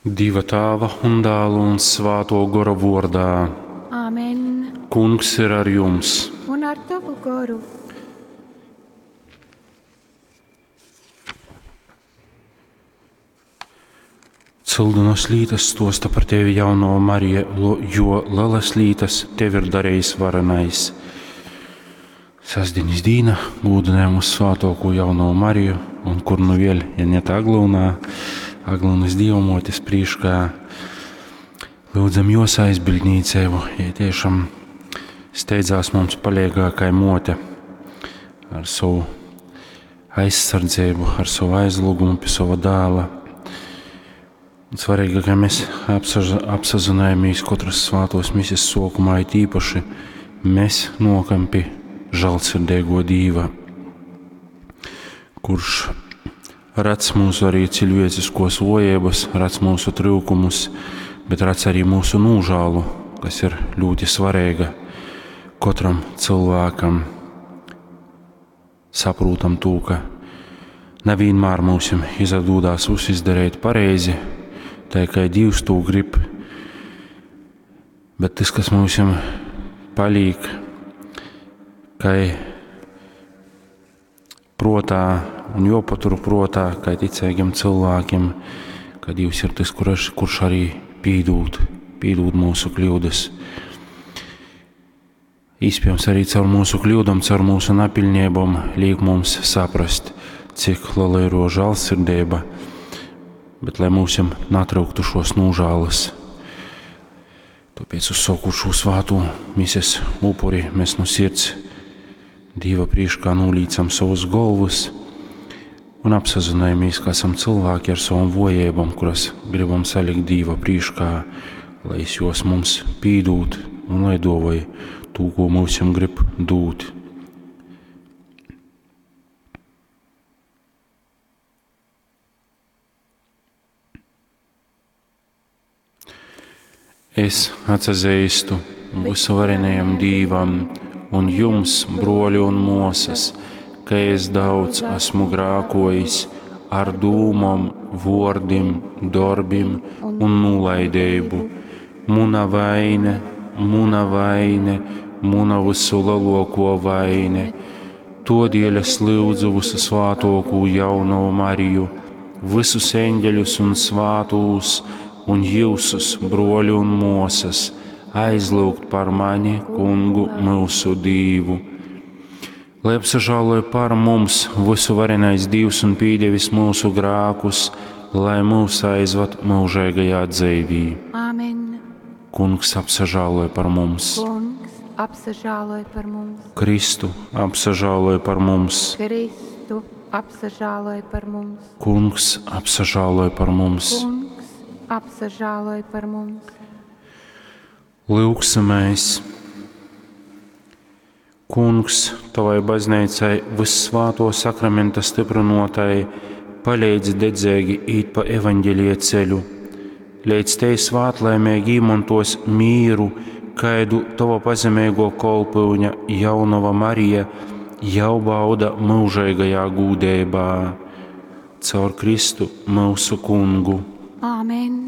Dieva Tāva un Dāla un Svāto Gora vordā. Āmen. Kungs ir ar jums. Un ar tavu goru. Cyldunas lītas stosta par tevi jauno Marija, jo lielas lītas tev ir darījis varenais. Sasdienas dīna gūdinājam uz svātoko jauno Mariju, un kur nu vēl, ja ne tā Aglūnā, Aglūnas dievamotes prīškā, lūdzam jos aizbildnīcēvu, ja tiešām steidzās mums paliegākai mote ar savu aizsardzību, ar savu aizlūgumu pie sava dēla. Un svarīgi, ka mēs apsazinājamies katras svātos misijas sokumā, it īpaši mēs nokam pie žēlsirdīgo Dīva, kurš redz mūsu arī cilvēciskos vojības, redz mūsu trūkumus, bet redz arī mūsu nožēlu, kas ir ļoti svarīga katram cilvēkam. Saprotam to, ka nevienmēr mums izdodās visu izdarīt pareizi, tā kā Dievs to grib, bet tas, kas mums paliek, kai protā un jopatur protā, kā ticīgiem cilvēkiem, ka Dievs ir tas, kurš, kurš arī pīdūt, pīdūt mūsu kļūdas. Iespējams, arī caur mūsu kļūdām, caur mūsu napilnībām liek mums saprast, cik liela ir žēlsirdība, bet lai mums natrauktu šos nožēlas. Tāpēc uzsākot šo svāto mises upuri, mēs no sirds Dieva priekšā nolīcam savus galvas un apsazinājamies, ka esam cilvēki ar savām vojībām, kuras gribam salikt Dieva priekšā, lai es jos mums pīdūt un lai dovai to, ko mums grib dūt. Es atsazīstu visuvarenajam Dīvam un jums, broļi un mosas, ka es daudz esmu grākojis ar dūmom, vordim, darbim un nolaidību. Muna vaine, muna vaine, muna visu lielāko vaine. Todēļ es lūdzu visu svātoko jauno Mariju, visus eņģeļus un svātūs un jūsus, broļi un mosas, aizlūgt par mani, kungu mūsu Dīvu. Lai apsažāloja par mums visu varenais Dievs un pīdevis mūsu grākus, lai mūs aizvad mūžīgajā dzīvī. Āmen. Kungs apsažāloja par mums. Kungs apsažāloja par mums. Kristu apsažāloja par mums. Kristu apsažāloja par mums. Kungs apsažāloja par mums. Kungs apsažāloja par mums. Lūgsimies! Kungs, tavai baznīcai vissvāto sakramenta stiprinotai, palīdzi dedzīgi īt pa evaņģelie ceļu, līdz te svātlaimīgi īmontos mīru, kaidu tava pazemīgo kolpyuņa jaunava Marija jau bauda mūžīgajā gūdībā. Caur Kristu mūsu kungu. Āmen.